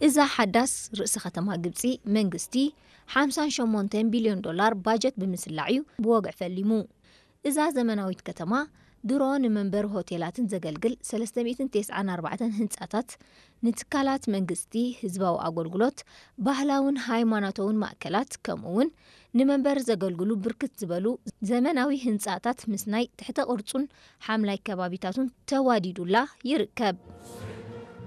እዛ ሓዳስ ርእሰ ከተማ ግብጺ፣ መንግስቲ ሓምሳን ሸሞንተን ቢልዮን ዶላር ባጀት ብምስላዕ እዩ ብወግዒ ፈሊሙ። እዛ ዘመናዊት ከተማ ድሮ ንመንበሪ ሆቴላትን ዘገልግል ሰለስተ ሚእትን ተስዓን ኣርባዕተን ህንጻታት፣ ንትካላት መንግስቲ፣ ህዝባዊ ኣገልግሎት፣ ባህላውን ሃይማኖታውን ማእከላት፣ ከምኡ እውን ንመንበሪ ዘገልግሉ ብርክት ዝበሉ ዘመናዊ ህንጻታት ምስናይ ትሕተ ቅርጹን ሓምላይ ከባቢታቱን ተዋዲዱላ ይርከብ።